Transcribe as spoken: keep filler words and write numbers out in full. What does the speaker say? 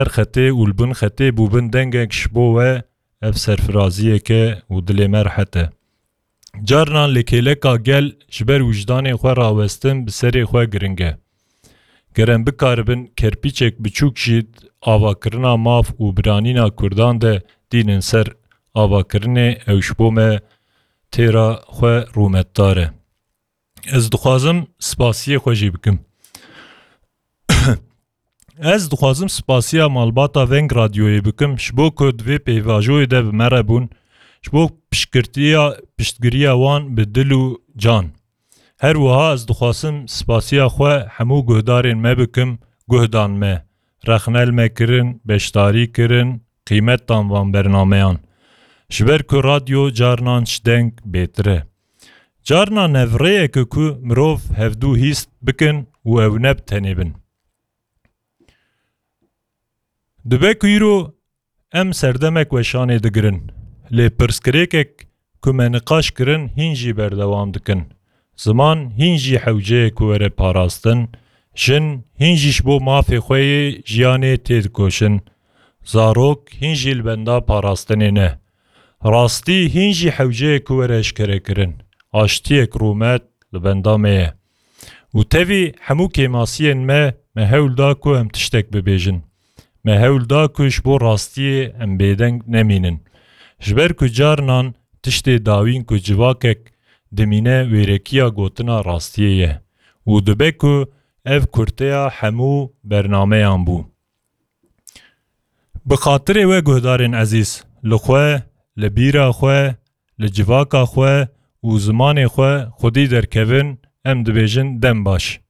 ser xetê û li bin xetê bûbin dengek ji bo we, ev serfiraziyek e û dilê me rehet e. Carinan li kêleka gel ji ber wijdanê xwe rawestin bi serê xwe giring e. Ger em bikaribin kerpîçek biçûk jî di avakirina maf û biranîna Kurdan de dînin ser avakirinê, ew ji bo me têra xwe rûmetdar e. Ez dixwazim spasiyê xwe jî bikim. Ez dixwazim spasiya malbata Veng Radyoyê bikim, ji bo ku di vê pêvajoyê de bi me re bûn, ji bo piştgirtiya, piştgiriya wan bi dil û can. Her wiha ez dixwazim spasiya xwe hemû guhdarên me bikim, guh dan me, rexne li me kirin, beşdarî kirin, qîmet dan van bernameyan. Ji ber ku radyo carinan ji deng bêtir e. Carinan ev rêyeke ku mirov hevdû hîst bikin û ew ne bi tenê bin. Dibe ku îro em serdemek weşanê digirin, lê pirsgirêkek ku me niqaş kirin hîn jî berdewam dikin. Ziman hîn jî hewceyek were parastin, jin hîn jî ji bo mafê xwe yê jiyanê têdikoşin. Zarok hîn jî li benda parastinê ne. Rastî hîn jî hewceyek were eşkerekirin. Aştiyek rûmet li benda me ye. Û tevî hemû kêmasiyên me, me hewl da ku em tiştek bibêjin. Me hewl da ku ji bo rastiyê em bêdeng nemînin. Ji ber ku carinan tiştê dawîn ku civakek dimîne wêrekiya gotina rastiyê ye. Û dibe ku ev kurteya hemû bernameyan bû. Bi xatirê we guhdarên ezîz, li xwe, li bîra xwe, li civaka xwe û zimanê xwe xwedî derkevin, em dibêjin dem baş.